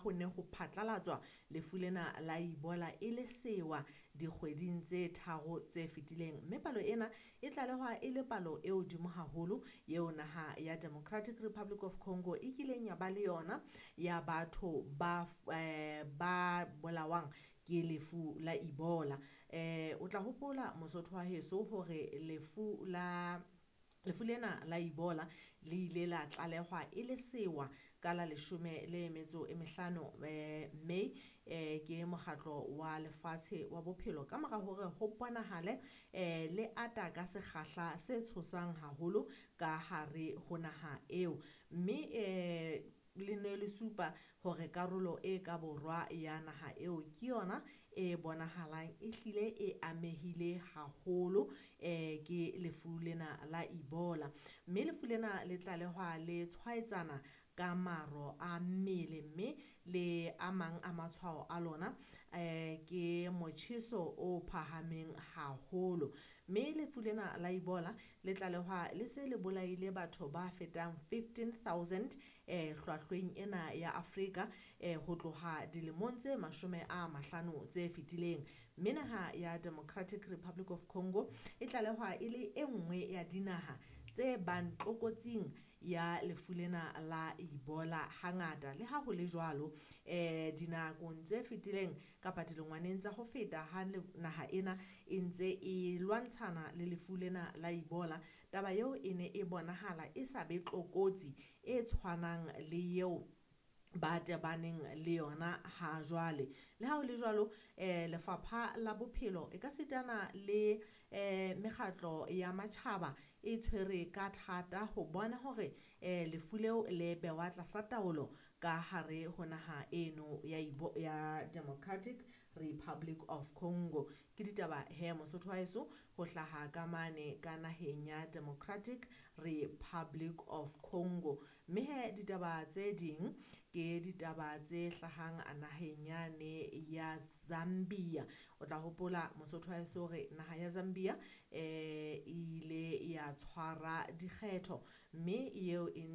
ho ne ho phatlalatswa lefu lena la Ebola e le sewa dikgweding tse 3 tse fetileng. Mme palo ena e tlalehwa e le palo e hodimo haholo eo naha ya Democratic Republic of Congo e kileng ya ba le yona ya batho ba ba bolawang ke lefu la Ebola. O tla hopola Mosotho wa heso hore lefu lena la Ebola le ile la tlalehwa e le sewa ka la 15 May ke mokgatlo wa lefatshe wa bophelo ka mora hore ho bonahale le ata ka sekgahla se tshosang haholo ka hare ho naha eo. Mme le ne le supa hore karolo e ka borwa ya naha eo ke yona e bonahalang e hlile e amehile haholo ke lefu lena la Ebola. Mme lefu lena le tlalehwa le tshwaetsana ka maro a mmele, mme le a mang a matshwao a lona ke motjheso o phahameng haholo. Mme lefu lena la Ebola le tlalehwa le se le bolaile batho ba fetang 15,000 hlwahlweng ena ya Afrika ho tloha dilemong tse 50 tse fetileng. Mme naha ya Democratic Republic of Congo e tlalehwa e le e nngwe ya dinaha tse bang tlokotsing ya lefu lena la Ebola hangata. Le ha ho le jwalo, dinakong tse fetileng kapa dilengwaneng tsa ho feta ha naha ena e ntse e lwantshana le lefu lena la Ebola, taba eo e ne e bonahala e sa be tlokotsi e tshwanang le eo ba tebaneng le yona ha jwale. Le ha ho le jwalo, lefapha la bophelo e ka sitana le mekgatlo ya matjhaba e tshwere ka thata ho bona hore lefu leo le bewa tlasa taolo ka hare ho naha eno ya Democratic Republic of Congo. Ke ditaba he Mosotho wa heso ho hlaha ka mane ka naheng ya Democratic Republic of Congo. Mme he ditaba tse ding ke ditaba tse hlahang naheng yane ya Zambia. O tla hopola Mosotho wa heso hore naha ya Zambia e ile ya tshwara dikgetho, mme eo e